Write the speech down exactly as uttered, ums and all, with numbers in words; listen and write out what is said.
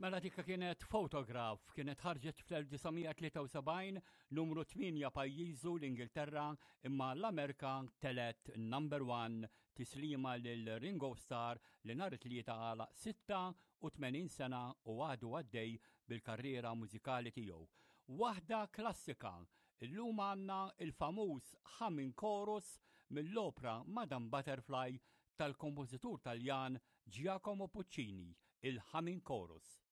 Mela dik kienet Photograph, kienet ħarġet fl-elf disa' mija tlieta u sebgħin, numru tmienja pajjiżu l-Ingilterra, imma l-Amerika telgħet number one. Tislima lil Ringo Starr li nhar it-Tlieta għalaq sitta u tmenin sena u għadu għaddej bil-karriera mużikali tiegħu. Waħda klassika, illum għandna il-famuż Humming Chorus mill-opra Madame Butterfly tal-kompożitur Taljan Giacomo Puccini, il-Humming Chorus.